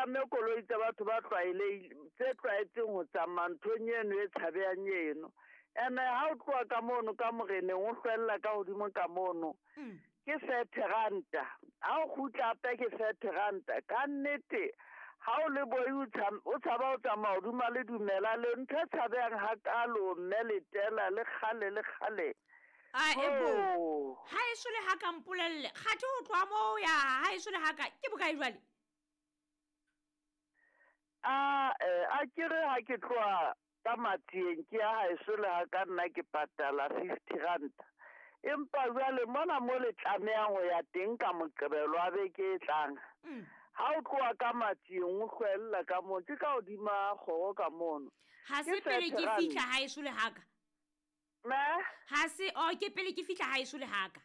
palame koloi tsa batho ba tse tlwaetseng ho tsamaya nthong eno e tshabehang eno. Ene ha o tloha ka mono ka moreneng o hlwella ka hodimo ka mono. Ke 30 ranta. Ha o kgutla hape ke 30 ranta. Ka nnete ha o le boi o tshaba o tsamaya hodima le dumela le ntho e tshabehang hakalo mme le tela le kgale le kgale. A ebo. Ha e sole ha ka mpolelle. Kgathe o tloha moo ya ha e sole ha ka ke bokae jwale? A ke re ha ke tloha ka Matsieng ke ya ha e sole ha ka nna ke patala 50 ranta. Empa jwale mona mo le tlamehang ho ya teng ka Moqebelo wa beke e tlang. Ha o tloha ka Matsieng o hlwella ka moo ke ka hodima kgoro ka mono. Ha se pele ke fihla ha e sole ha ka. Me? Ha se o ke pele ke fihla ha e sole ha ka.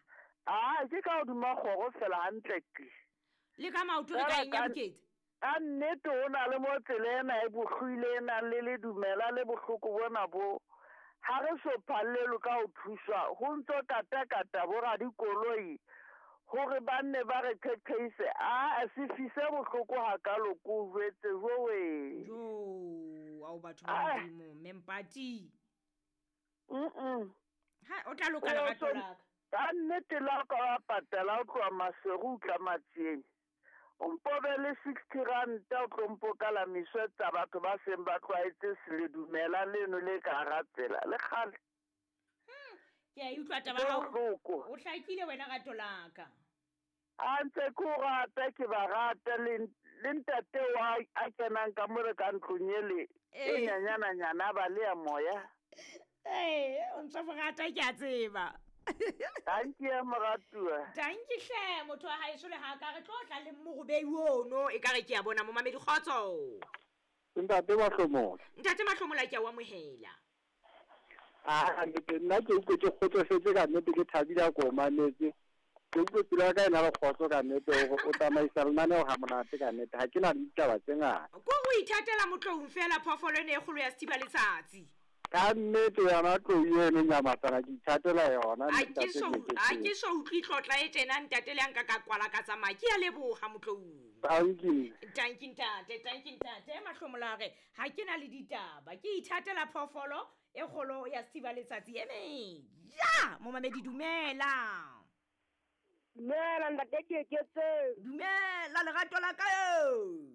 Ah, ke ka hodima kgoro fela hantle ke. Le ka maoto re ka eng ya bokete? Ka nnete ho na le mo tsela ena e bohlwile e nang le le dumela le bohloko bona bo. Ha re so phallelwe ka ho thuswa ho ntso kata-kata bo radikoloi hore ba nne ba re qheqheise. A se fise bohloko hakalo ko o jwetse jowe. Jo, ao batho ba Modimo, Mempati. Ha o tla loka lerato la ka. Ka nnete la ka wa patala o tloha Maseru o tla Matsieng. O mpobe le 60 ranta o tlo mpokala miswetsa batho ba seng ba tlwaetse se dumela leno le ka hara tsela le kgale. Ke a utlwa taba hao. O hlakile wena rato la ka. A ntse ke o rata ke ba rata le ntate wa a kenang ka more ka ntlong ele e nyanyana nyana ba le ya moya. O ntse mo rata ke a tseba. Tanki ya moratuwa. Tanki hle motho wa haeso le ha ka re tlo tla le morobei ono e ka re ke a bona momamedi kgotso. Ntate Mahlomola. Ntate Mahlomola ke a o amohela. Ah, nna ke utlwe ke kgotsofetse ka nnete ke thabile ko mametse. Ke utlwe pelo ya ka e na le kgotso ka nnete hore o tsamaisa lenaneo ha monate ka nnete. Ha ke na le ditaba tse ngata. Ko o ithatela motloung fela phoofolo ene e kgolo ya sethiba letsatsi. Ka nnete yona tlou eno nyamatsana ke ithatela yona. A ke so utlwe tlotla e tjena ntate le a nka ka kwala ka tsamaya. Ke a leboha motloung. Tanki. Tanki ntate, tanki ntate. Mahlomola re ha ke na le ditaba. Ke ithatela phoofolo e kgolo ya sethiba letsatsi eme. Ja, momamedi dumela. Dumela ntate Keketse. Dumela lerato la ka eo.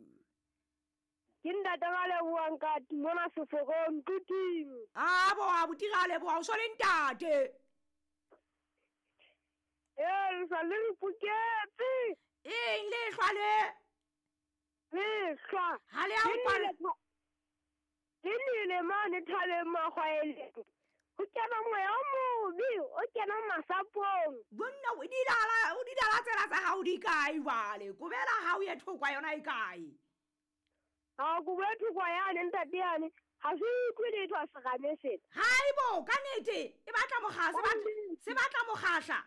Ke ntate ba lebohang ka mona seforong tuting. A bo a botira leboha o so le ntate. Le sa le mpoketse. Eng le hlwa le? Le hlwa. Ha le a upala. Ke nile mane thabeng makgwaeleng. Ho kena moya o mobe, o kena masapong. Bonna o didala tsela tsa hao di kae jwale? Kobela hao ye thokwa yona e kae? Ha ko bue thokwa yane ntate yane. Ha se utlwe letho a serame sena. Haibo, ka nnete e batla mokgahla, se batla mokgahla.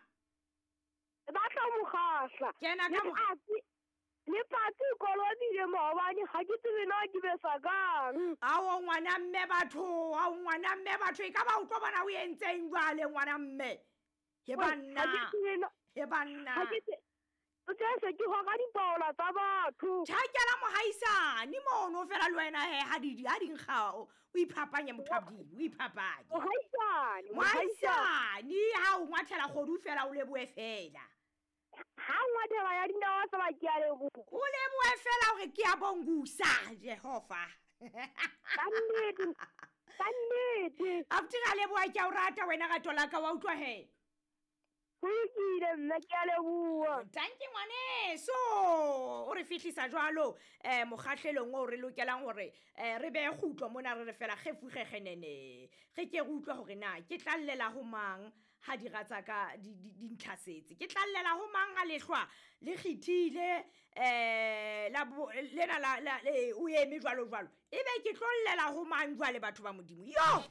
E batla mokgahla. Kena ka Le patsi kolobile maobane ha ke tsebe na ke besa kang. Ao ngwana mme batho, ao ngwana mme batho e ka ba o tlo bona o entseng jwale ngwana mme. He banna. He banna. O tla se ke hora dipaola tsa batho. Tjhakela mohaisane mono fela le wena he ha di nkga o iphapanye motho a Modimo, o iphapanye. Mohaisane, mohaisane ha o ngwathela kgodu fela o lebohe fela. Ha ngwathela ya dinawa fela ke a leboha. O lebohe fela hore ke a bongusa Jehova. Ka nnete. Ka nnete. Abuti ra leboha ke a o rata wena rato la ka wa utlwa he. Ho lokile mme ke a leboha. Tanki ngwaneso. O re fihlisa jwalo mokgahlelong o re lokelang hore re behe kgutlo mona re re fela kgefugegenene. Re ke re utlwe hore na ke tlallela ho mang ha dira tsa ka di ntlhasetse. Ke tlallela ho mang ha lehlwa le kgithile la lena la o eme jwalo jwalo. Ebe ke tlollela ho mang jwale batho ba Modimo. Yo.